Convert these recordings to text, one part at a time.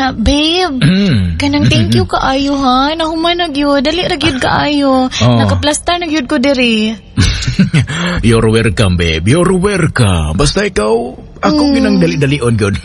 Unya, babe. Kanang thank you kaayo ha. Nahuman na gyud. Dali ra gyud kaayo. Oh. Nakaplastar na gyud ko diri. You're welcome, babe. You're welcome. Basta ikaw, ako ginang dali-dalion gyud.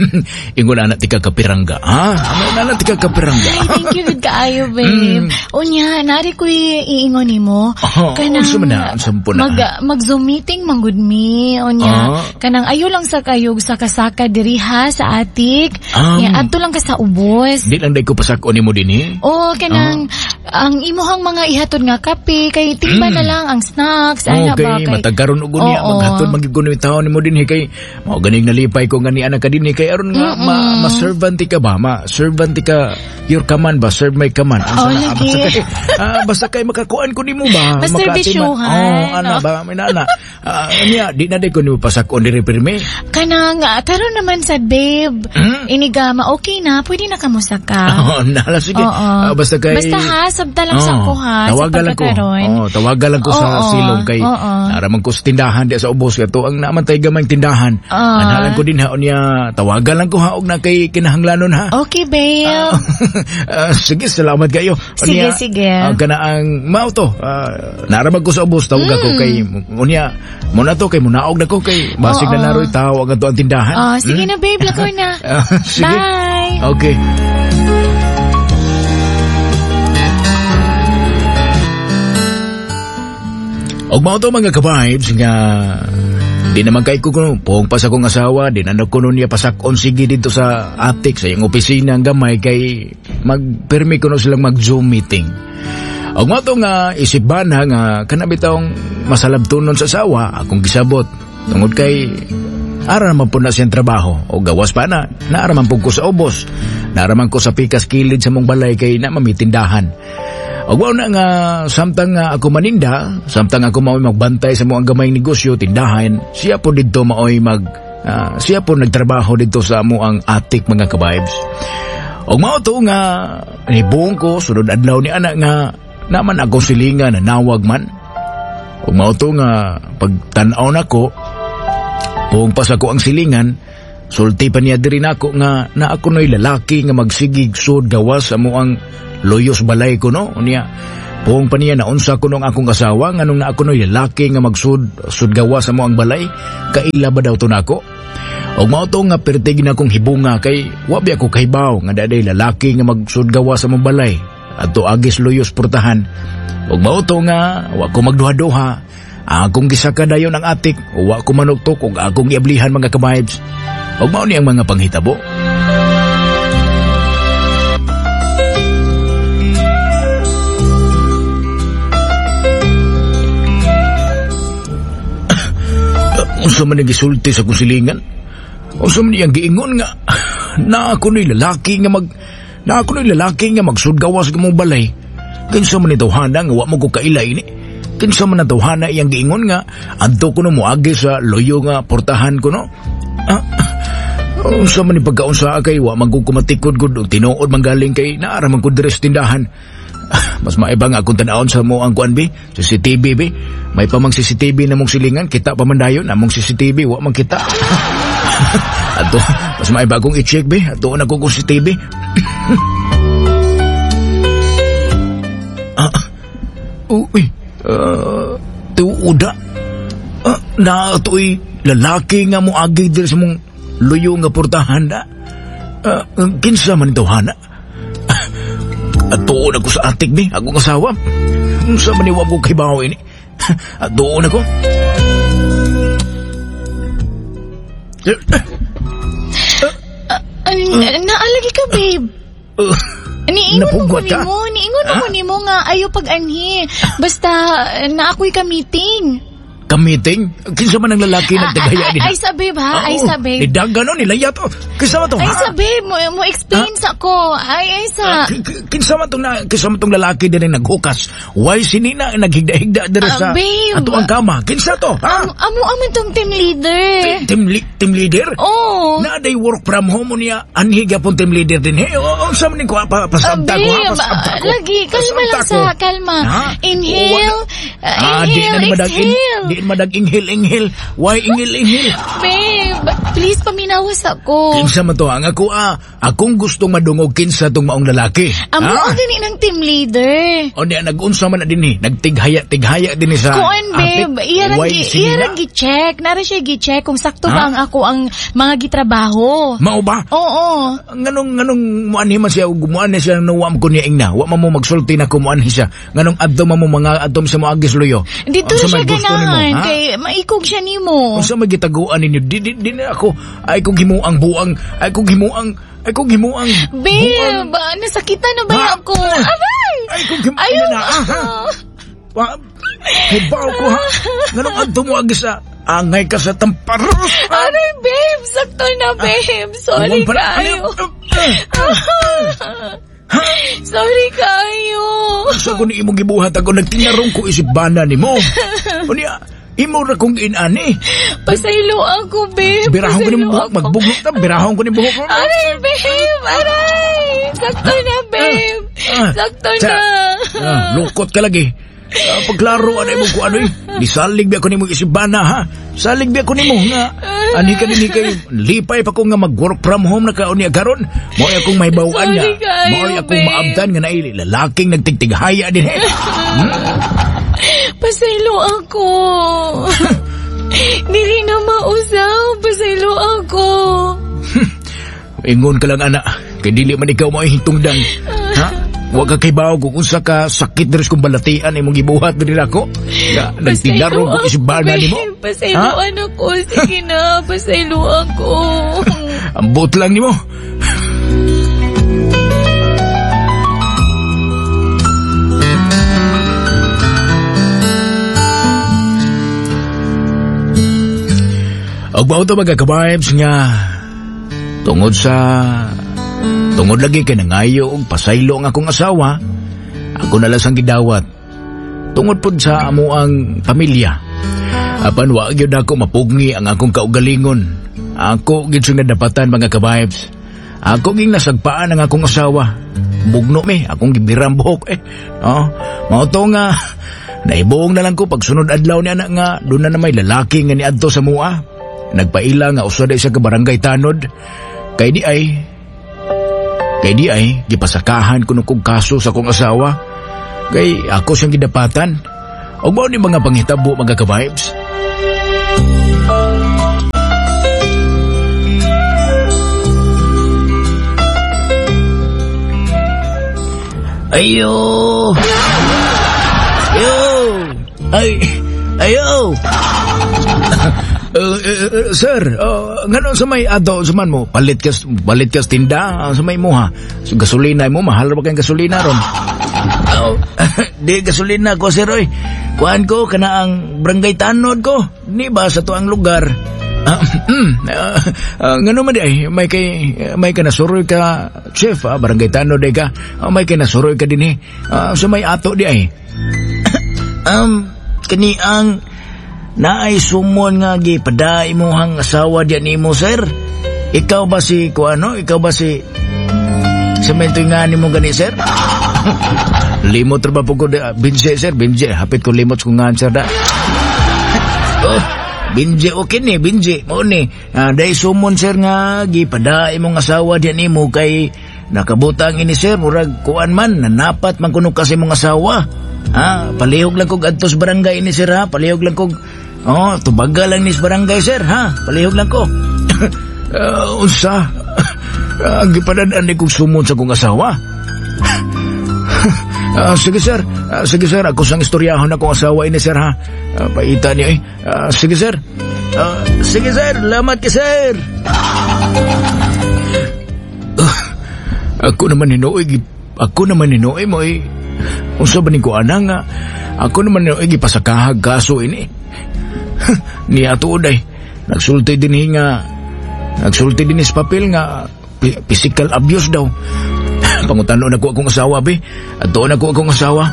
Ingon ana tika kapirangga, ha? Ingon ana tika kapirangga. Ay, thank you gud kaayo, babe. Unya, nari ko'y iingon nimo. Oh, unsa man na? Unsa man po na? Mag Zoom meeting man gud mi. Unya, kanang ayo lang sa kayog sa kasaka diri ha sa atik. Nya adto lang ka sa ubos. Di lang day ko pasakon nimo dinhi. Oh, kanang ang imuhang mga ihatod nga kape kay timba na lang ang snacks ana ba Okay, kay matagkaron og unya maghatod man gyud kuno taon nimo dinhi kay mao ganing nalipay ko nga ni anak ka dinhi kay aron nga ma-servant ka ba, ma-servant ka your command ba, serve my command. Oh, Unsa na, lagi. basta kay, basta kay makakuan ko nimo ba, Maserbisyuhan. Oh, ana ba, may nana. Niya di na day ko nimo pasakon diri pirmi. Kanang karon naman sad, babe. Inigama okay na, pwede na kamusaka. Oh, nala sige. Oo. Basta kay Basta ha, sabta lang sa ko ha, sa Tawagan lang ko. pagkakaroon. Oh, tawagan lang ko sa silong kay naraman ko sa tindahan di sa ubos kato ang naman tay gamay tindahan. Analan ko din ha unya, tawagan lang ko ha og na kay kinahanglanon ha. Okay, babe. Sige, salamat kayo. Sige, Unya, sige. Kana ang mao to. Naraman ko sa ubos, tawagan ko kay unya mo na to kay munaog na ko kay basig na naroy tao ang ato ang tindahan. Oh, sige na, babe, lakaw na. Sige. Bye. Okay. Og mao to mga ka-vibes nga di naman kay ko kuno puong pa sa akong asawa, di na kuno niya pasakon sige dito sa attic sa iyang opisina ang gamay kay magpirmi kuno silang mag Zoom meeting. Og mao to nga isip bana nga kana bitawng masalabtonon sa asawa akong gisabot tungod kay ara man po na siyang trabaho o gawas pa na naara man po ko sa ubos, naara man ko sa pikas kilid sa mong balay kay na mamitindahan. Og wala na nga samtang nga ako maninda, samtang ako maoy magbantay sa mo ang gamay negosyo tindahan, siya po didto maoy mag siya po nagtrabaho didto sa amo ang atik mga ka-vibes. Og mao to nga nibuong ko sunod adlaw ni anak nga naman akong silingan na nawag man. Og mao to nga pagtan-aw nako, buong pas ako ang silingan, sulti pa niya diri nako nga na ako no'y lalaki nga magsigig sud gawas sa mo ang loyos balay ko no. Unya, buong pa niya naunsa ko nung akong asawa nga nung na ako no'y lalaki nga magsud sud gawas sa mo ang balay, kaila ba daw to nako? Og mao to nga pertig na akong hibunga kay wa bi ako kahibaw nga daday lalaki nga magsud gawas sa mong balay adto agis loyos portahan. Og mao to nga wa ko magduha-duha, akong gisaka dayon ang atik, wa ko manuktok og akong giablihan mga ka-vibes. Og mao ni ang mga panghitabo. Unsa man ang gisulti sa kusilingan? Unsa man iyang giingon nga na ako ni lalaki nga mag na ako ni lalaki nga magsudgawas sa mong balay. Kinsa man ni tawhana nga wa mo ko kaila ini? Kinsa man ang tawhana iyang giingon nga adto ko no moagi sa loyo nga portahan ko no? Unsa man ni pagkaunsa kay wa man ko kumatikod gud og tinuod man galing kay naara man ko diri sa tindahan. Mas maiba nga akong tan-awon sa mo ang kuan bi, CCTV bi. May pa mang CCTV na mong silingan, kita pa man dayon among CCTV wa man kita. Ato, mas maiba akong i-check bi, ato na ko CCTV. Uy, tuuda. Na to'y lalaki nga moagi diri sa mong luyo nga portahan da. Kinsa man ito hana? At doon ako sa atik ni, akong asawa. Sa maniwag ko kay bawo ini. At doon ako. Naalagi ka, babe. Niingon mo ko nimo, niingon mo ko nimo nga ayo pag-anhi. Basta na ako'y ka-meeting. Ka-meeting? Kinsa man ang lalaki nagdagaya nila? Ay sa babe ha, ay sa babe. Nidaga no, nilaya to. Kinsa man to ha? Ay sa babe, mo explain sa ko. Ay sa. Kinsa man tong lalaki din ang naghukas? Why si Nina naghigda-higda diri sa ato ang kama? Kinsa to ha? Amo aman tong team leader. Team leader? Oo. Na day work from home niya. Anhi gyapon team leader din. Hey, unsa man ni ko pasabta ko ha? Pasabta ko. Lagi, kalma lang sa, kalma. Inhale, inhale, exhale. Di Diin madag inghil-inghil. Why inghil-inghil? Babe, please paminawas ako. Kinsa man to ang ako akong gustong madungog kinsa tong maong lalaki. Amo ang gani ng team leader. O niya nagunsa man na dinhi, nagtighaya-tighaya dinhi sa Kuan babe, iyarang gi-check, nara siya gi-check kung sakto ba ang ako ang mga gitrabaho. Mao ba? Oo. Nganong muanhi man siya ug muanhi siya nuwam ko niya ingna. Wa man mo magsulti na ko muanhi siya. Nganong adto man mo mga adto sa moagis luyo. Dito siya ganahan kay maikog siya nimo. Unsa may gitaguan ninyo? Di na ako ay kong himuang buang, ay kong himuang, ay kong himuang. Babe, nasakitan na ba ako? Aray! Ay kong himuang na ha. Hibaw ko ha. Nganong adto mo agis sa angay ka sa tamparos. Aray babe, sakto na babe. Sorry kayo. Sorry kayo. Sa ko ni imong gibuhat ako nagtinarong ko isip bana nimo. Unya, imo ra kong inani. Pasaylo ako, babe. Birahon ko ni buhok, magbugnot ta, birahon ko ni buhok. Aray, babe, aray. Sakto na, babe. Sakto na. Lukot ka lagi. Pagklaro ano imong kuano eh. Nisalig biya ko nimo isibana ha. Salig biya ko nimo nga ani ka dinhi kay lipay pa ko nga mag-work from home na ka unya karon. Mo'y akong mahibaw-an nga. Mo'y akong maabtan nga naili lalaking nagtigtighaya dinhi. Pasaylo ako. Dili na mausap. Pasaylo ako. Ingon ka lang ana. Kay dili man ikaw mo'y hitungdan. Ha? Wa ka kay bawo kung unsa ka sakit diri kung balatian imong gibuhat diri nako. Nagtinarong ko isibana nimo. Pasayloan ako. Sige na, pasaylo ako. Ambot lang nimo. Og mao to mga ka-vibes nga tungod lagi kay nangayo og pasaylo ang akong asawa, ako na lang sang gidawat. Tungod pud sa amuang pamilya. Apan wa gyud ako mapugni ang akong kaugalingon. Ako gyud siyang nadapatan mga ka-vibes. Ako ging nasagpaan ang akong asawa. Bugno mi, akong gibirang buhok eh. Oh, mao to nga naibuong na lang ko pagsunod adlaw ni anak nga doon na may lalaki nga niadto sa mua. Nagpaila nga usa sa ka barangay tanod. Kay di ay gipasakahan kuno kog kaso sa akong asawa. Kay ako siyang gidapatan. Og mao ni mga panghitabo mga ka-vibes. Ayo. Yo. Ay, ayo. Sir, ngano sa may ato sa man mo palit kas tinda sa may mo ha. So, gasolina mo mahal ba kay gasolina ron? Di gasolina ko sir oy. Kuan ko kana ang barangay tanod ko. Ni ba sa tuang lugar? Ngano man di ay may ka nasuroy ka chef barangay tanod ay ka. May kay nasuroy ka dinhi. Sa may ato di ay. Kani ang naay sumon nga gipada imuhang asawa diyan nimo sir. Ikaw ba si kuano? Ikaw ba si Sementoy nga nimo gani sir? Limot ra ba po ko Binje sir, Binje. Hapit ko limot ko nga sir da. Oh, Binje okay ni, Binje. Mao ni. Dai sumon sir nga gipada imong asawa diyan nimo kay nakabutang ini sir murag kuan man nanapat man kuno kasi imong asawa. Ha, palihog lang kog adto sa barangay ini sir ha, palihog lang kog tubaga lang ni sa barangay sir ha, palihog lang ko. Unsa? Ang gipadad-an ni kog sumon sa kong asawa. Sige sir, sige sir, ako sang istoryahon akong asawa ini sir ha. Paita niya eh. Sige sir. Sige sir, lamat ka sir. Ako naman hinuoy mo eh. Unsa ba ni ko ana nga ako naman hinuoy gipasakahag kaso ini. Niya tuod ay nagsulti din sa papel nga physical abuse daw. Pangutanon ako akong asawa be. Adtoon ako akong asawa.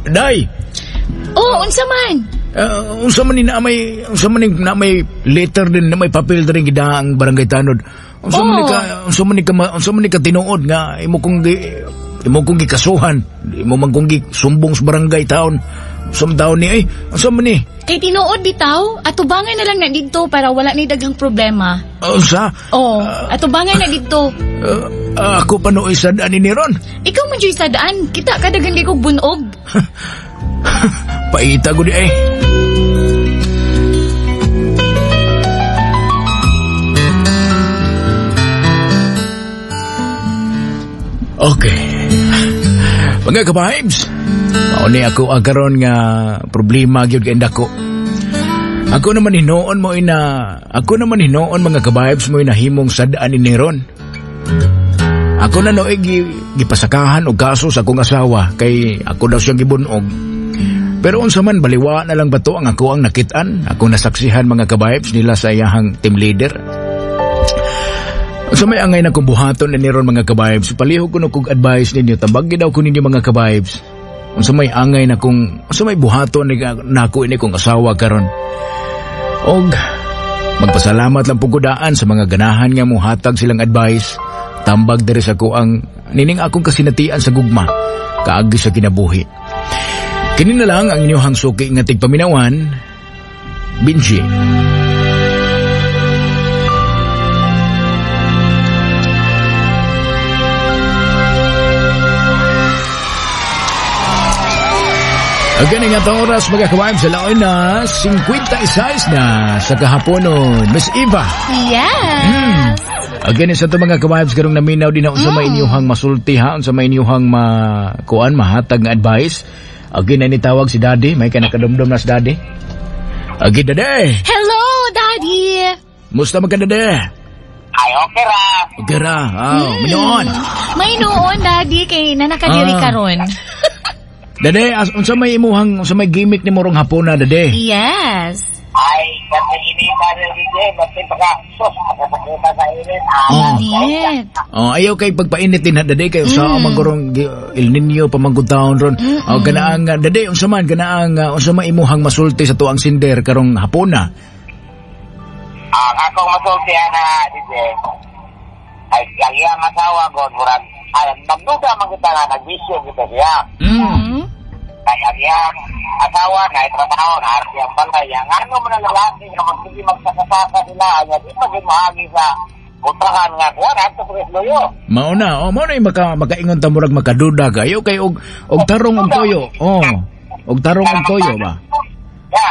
Day. Oh, unsa man? Unsa man ni na may letter din na may papel din gida ang barangay tanod. Unsa man ni ka tinuod nga imo kong Imo kong gikasuhan, imo man kong gisumbong sa barangay town. Sumtaon ni ay, unsa man ni? Kay tinuod bitaw, atubangan na lang na didto para wala ni daghang problema. Unsa? Oh, atubangan na didto. Ako pa nooy sad-an ni ron. Ikaw man jud sadaan, kita ka daghan kay kog bunog. Paita ko di ay. Okay. Mga ka-vibes, mao ni ako ang karon nga problema gyud kay dako. Ako naman hinuon mo ina, ako naman hinuon mga ka-vibes mo inahimong sad-an ni Neron. Ako na nooy gipasakahan og kaso sa akong asawa kay ako daw siyang gibunog. Pero unsa man baliwa na lang ba to ang ako ang nakit-an, ako nasaksihan mga ka-vibes nila sa iyahang team leader. Unsa may angay na kong buhaton ni ron mga ka-vibes, palihog ko no kog advice ninyo, tambagi daw ko ninyo mga ka-vibes. Unsa may angay na kung unsa may buhaton ni nako ini kong asawa karon. Og magpasalamat lang pud ko daan sa mga ganahan nga mohatag silang advice. Tambag diri sa ko ang nining akong kasinatian sa gugma kaagi sa kinabuhi. Kini na lang ang inyong suki nga tigpaminawan, Benji. Again, nga itong oras mga kawaib sa laon na 56 na sa kahaponon. Miss Eva. Yes. Again, sa ito mga ka-vibes karong naminaw din na unsa may inyuhang masulti ha, unsa may inyuhang makuan, mahatag nga advice. Again, na nitawag si Daddy. May ka nakadumdum na si Daddy. Again, Daddy. Hello, Daddy. Musta man ka, Daddy? Ay, okay ra. Okay ra. Oh, Minoon. May noon, Daddy, kay nanakadiri karon. Daddy, unsa may imuhang, unsa may gimmick ni morong hapona, Daddy? Yes. Ay, kasi inita rin DJ, basta baka, sus, makasakita sa init. Oh. Init. Oh, ayaw kay pagpainit din ha, Daddy, kay usa man gorong El Niño pamangkod taon ron. Oh, ganaang Daddy, unsa man ganaang unsa may imuhang masulti sa tuang sinder karong hapona? Ang akong masulti ana, DJ, ay, ang iyang asawa god, murag, ay, magduda man kita nga, nagbisyo kita siya. Kaya ang iyang asawa na itrabaho na harap iyang balay. Ang ano man ang lalaki nga magsige magsakasaka sila, nga di pa mahagi sa kontrahan nga kuwan, ato pa luyo. Mao na, oh, mao na yung makaingon ta murag makaduda kayo kay og tarong og toyo. Oh, og tarong og toyo ba? Ya.